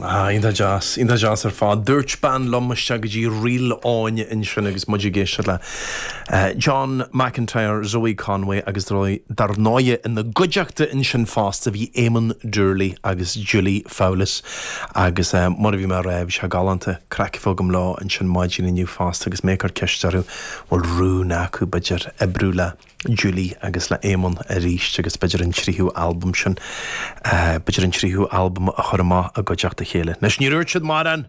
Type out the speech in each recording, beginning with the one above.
Ah, iontach deas, iontach deas ar fad. Dúirt bean liom isteach go dtí Ríl Áine ansin agus muid ag éisteacht le John McIntyre, Zoe Conway agus dar ndóighe ina gcuideachta ansin fosta bhí Éamonn Doorley agus Julie Fowlis agus mar a bhí mé a rá bhí sé galánta craic a bheith agam leo ansin maidin inniu fosta agus mé ag cur ceist orthu bhfuil rún acu b'fhéidir oibriú le Julie agus le Éamonn arís agus b'fhéidir an tríú albam sin, b'fhéidir an tríú albam a chur amach i gcuideachta a chéile. Anois níor dhúirt siad mórán!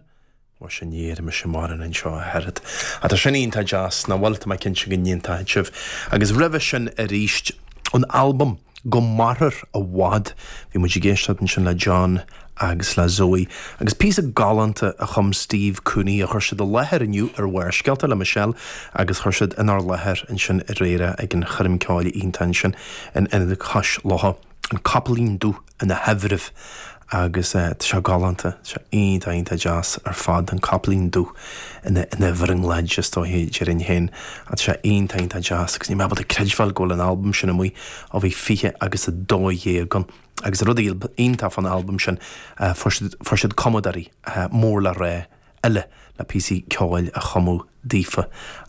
Mhuise ní dhéarfaidh mise mórán anseo ach oiread. Ach tá sin iontach deas, nach bhfuil? Tá mé cinnte go n-aontóidh sibh. Agus roimhe sin arís, ón albam Go Mairfear i bhFad, bhí muid ag éisteacht ansin le John agus le Zoe. Agus píosa galánta a chum Steve Cooney a chuir siad i láthair inniu ar Bharrscéalta le Michelle agus chuir siad inár láthair ansin aréir ag an choirm ceoil iontach ansin in Ionad Cois Locha, An Copaleen Dubh ina thaibhreamh agus tá sé galánta, tá sé iontach iontach deas ar fad, an Copaleen Dubh ina ina bhrionglóid is dóiche déarfainn féin tá sé iontach iontach deas agus níl mé ábalta creidbheáil go bhfuil an albam sin amuigh ó bhí 20 agus 12 ann. Agus an rud iontach fán albam sin, fuair siad, fuair siad cumadóirí mór le rá eile le píosaí ceoil a chumadh daofa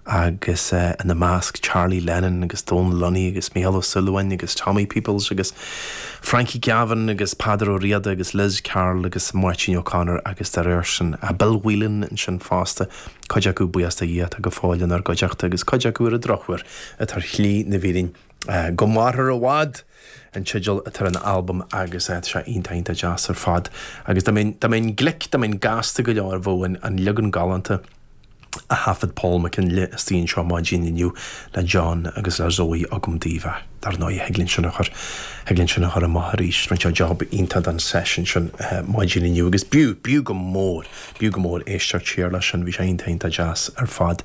agus ina measc Charlie Lennon agus Dónal Lunny agus Mícheál Ó Súilleabháin agus Tommy Peoples agus Frankie Gavin agus Peadar Ó Riada agus Liz Carroll agus Máirtín O'Connor agus dá réir sin Bill Whelan ansin fosta, cuid acu buíochas do Dhia atá go fóill inár gcuideachta agus cuid acu ar an drochuair atá ar shlí na bhfírinne. Go Mairfear i bhFad! an teideal atá ar an albam agus tá sé iontach iontach deas ar fad. Agus dá mbeinn, dá mbeinn glic, dá mbeinn gasta go leor bheadh an, an leagan galánta a thaifead Paul McKinley istigh anseo maidin inniu le John agus le Zoe agam daoibh ach dar ndóigh thig linn sin a chur, thig linn sin a chur amach arís. Rinne sé job iontach den session sin maidin inniu agus b'fhiú, b'fhiú go mór. B'fhiú go mór éisteacht siar leis sin, bhí sé iontach iontach deas ar fad.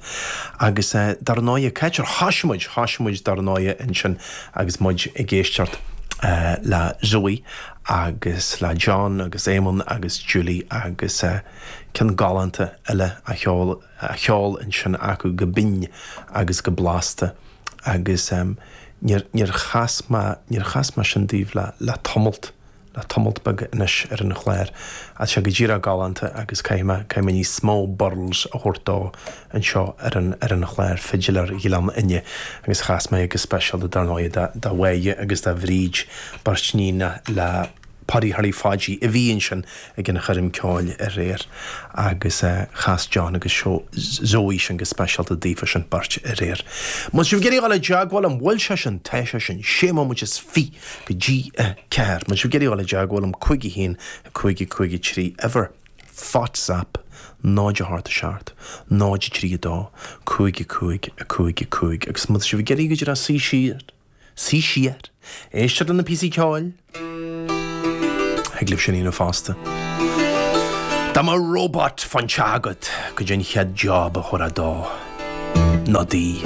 Agus dar ndóighe, cá háit ar thoisigh muid, thoisigh muid dar ndóighe ansin agus muid ag éisteacht le Zoe agus le John agus Éamonn agus Julie agus ceann galánta eile a cheol, a cheol ansin acu go binn agus go blasta agus níor, níor chas mé, níor chas mé sin daoibh le, le tamalt. le tamalt beag anois ar an chlár. Tá sé go díreach galánta agus caithfidh mé, caithfidh mé níos mó burls a thabhairt dó anseo ar an, ar an chlár Fidléir Ghleann Fhinne agus chas mé go speisialta dar ndóigh do, do Mháire agus do Bhríd, beirt níon le Páidí Tharlaigh Pháidí a bhí ansin ag an choirm ceoil aréir agus chas John agus Zoe sin go speisialta daofa sin beirt aréir. Má tá sibh ag iarraidh a dhul i dteagmháil liom, bhfuil sé sin, tá sé sin, sé móiméad is fi. go dtí a 4. Má tá sibh ag iarraidh a dhul i dteagmháil liom 5 1 5 5 3 uimhir WhatsApp 0 8 7 0 3 2 5 5 5 5 agus má tá sibh ag iarraidh go díreach suí siar, suí siar, éisteacht le na píosaí ceoil, thig libh sin a dhéanamh fosta. Dá mbeadh robot fán teach agat, goidé an chéad job a thabharfá dó. Nó di.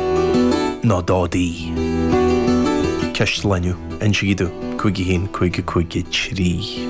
Nó dó di. Ceist an lae inniu. Insígí domh. 5 1 5 5 3.